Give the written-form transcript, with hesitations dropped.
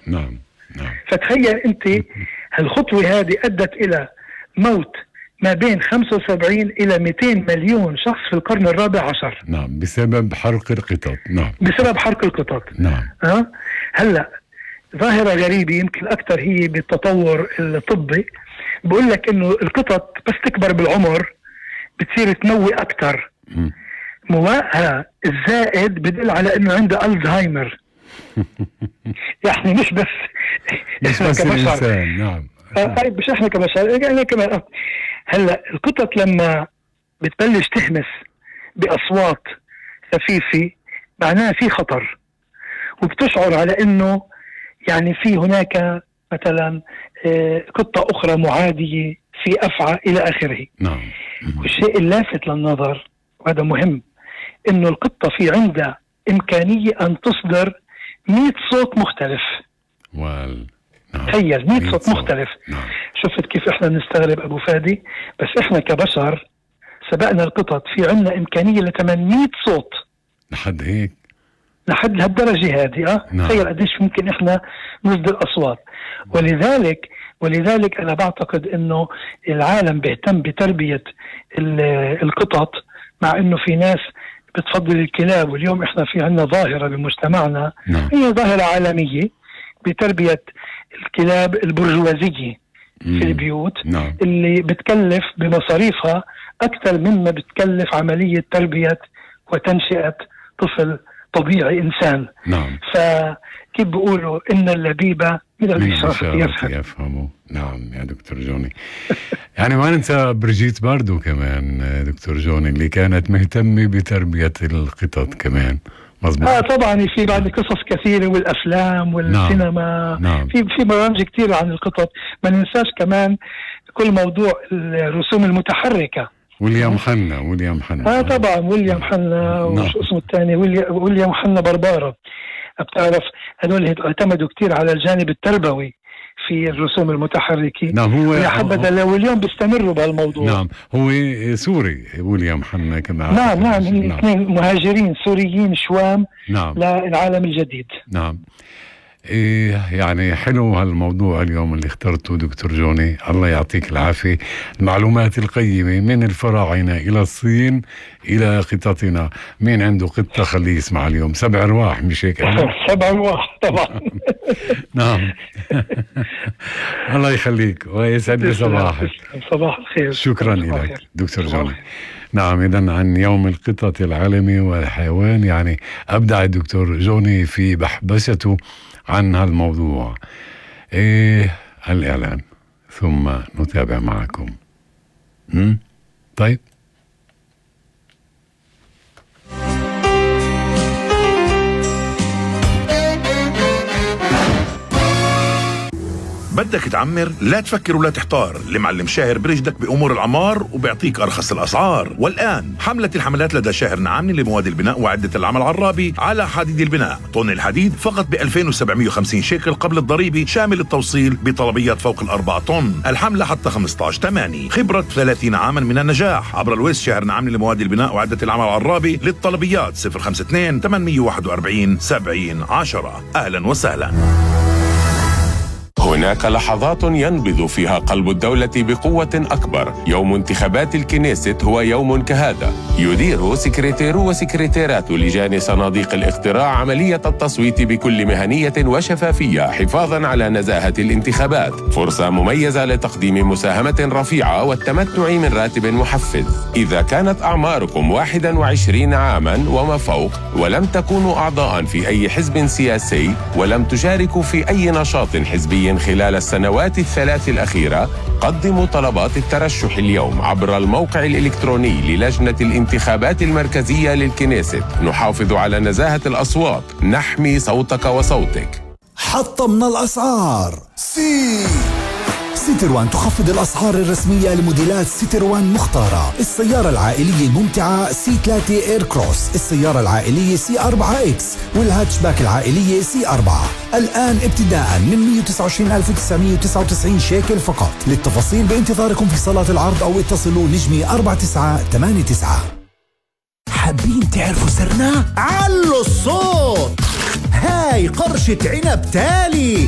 نعم. فتخيل أنت هالخطوة هذه أدت إلى موت ما بين 75 إلى 200 مليون شخص في القرن الرابع عشر. نعم، بسبب حرق القطط. نعم، بسبب حرق القطط. نعم. هلأ ظاهرة غريبة يمكن أكثر هي بالتطور الطبي، بقول لك إنه القطط بس تكبر بالعمر بتصير تموي أكثر. موائها الزائد بدل على إنه عنده ألزهايمر. يعني مش بس الإنسان. نعم. مش احنا كبشر، يعني كمان. هلا القطط لما بتبلش تهمس بأصوات خفيفة معناها في خطر، وبتشعر على انه يعني في هناك مثلا قطة اخرى معادية في افعى الى اخره. نعم. والشيء اللافت للنظر وهذا مهم انه القطة في عندها امكانية ان تصدر 100 صوت مختلف. تخيل 100 صوت مختلف. شفت كيف احنا بنستغرب ابو فادي، بس احنا كبشر سبقنا القطط، في عنا امكانية ل 800 صوت. لحد هيك؟ لحد لهالدرجة هذه. تخيل قديش ممكن احنا نصدر اصوات. ولذلك انا بعتقد انه العالم بيهتم بتربية القطط، مع انه في ناس بتفضل الكلاب. واليوم احنا في عنا ظاهرة بمجتمعنا هي ظاهرة عالمية بتربية الكلاب البرجوازية في البيوت. اللي بتكلف بمصاريفها أكثر مما بتكلف عملية تربية وتنشئة طفل طبيعي إنسان. فكيف بيقولوا إن اللبيبة من الإشارة يفهموا. نعم يا دكتور جوني. يعني ما ننسى بريجيت باردو كمان دكتور جوني، اللي كانت مهتمة بتربية القطط كمان. مظبوط. طبعا في بعد قصص كثيرة والأفلام والسينما. في برامج كثيرة عن القطط. ما ننساش كمان كل موضوع الرسوم المتحركة. ويليام حنا. طبعا ويليام حنا. وش اسمه الثاني؟ ويليام حنا بربارة. بتعرف هذول اعتمدوا كثير على الجانب التربوي في الرسوم المتحركة. هو يا حبذا واليوم بيستمروا بهالموضوع. هو سوري ويليام حنا كمان. نعم اثنين مهاجرين سوريين شوام للعالم الجديد. يعني حلو هالموضوع اليوم اللي اخترته دكتور جوني. الله يعطيك العافية. المعلومات القيمة من الفراعنة إلى الصين إلى قططنا. مين عنده قطة خليه يسمع اليوم. 7 أرواح مش هيك؟ 7 أرواح طبعا. نعم. الله يخليك ويسعد صباحك. صباح الخير. شكرا لك دكتور جوني. نعم، إذن عن يوم القطط العالمي والحيوان، يعني أبدع الدكتور جوني في بحبسته عن هالموضوع. الإعلان ثم نتابع معكم. طيب. بدك تعمر؟ لا تفكر ولا تحتار. المعلم شاهر برشدك بأمور العمار وبيعطيك أرخص الأسعار. والآن حملة الحملات لدى شاهر نعامني لمواد البناء وعدة العمل العرابي على حديد البناء. طن الحديد فقط ب 2750 شيكل قبل الضريبة، شامل التوصيل بطلبيات فوق 4 طن. الحملة حتى 15/8. خبرة 30 عاما من النجاح. عبر الويس شاهر نعامني لمواد البناء وعدة العمل العرابي. للطلبيات 052 841 7010. أهلا وسهلا. هناك لحظات ينبض فيها قلب الدولة بقوة أكبر. يوم انتخابات الكنيست هو يوم كهذا. يدير سكرتيرو وسكرتيرات لجان صناديق الاقتراع عملية التصويت بكل مهنية وشفافية حفاظا على نزاهة الانتخابات. فرصة مميزة لتقديم مساهمة رفيعة والتمتع من راتب محفز. إذا كانت أعماركم 21 عاما وما فوق ولم تكونوا أعضاء في أي حزب سياسي ولم تشاركوا في أي نشاط حزبي خلال السنوات 3 الأخيرة، قدموا طلبات الترشح اليوم عبر الموقع الإلكتروني للجنة الانتخابات المركزية للكنيست. نحافظ على نزاهة الأصوات، نحمي صوتك وصوتك. حطمنا الأسعار. سيتروان تخفض الأسعار الرسمية لموديلات سيتروان مختارة. السيارة العائلية الممتعة C3 إير كروس، السيارة العائلية C4X والهاتشباك العائلية C4. الآن ابتداء من 129,999 شيكل فقط. للتفاصيل بانتظاركم في صالات العرض أو اتصلوا نجمي 4989. حابين تعرفوا سرنا؟ علوا الصوت. هاي قرشة عنب تالي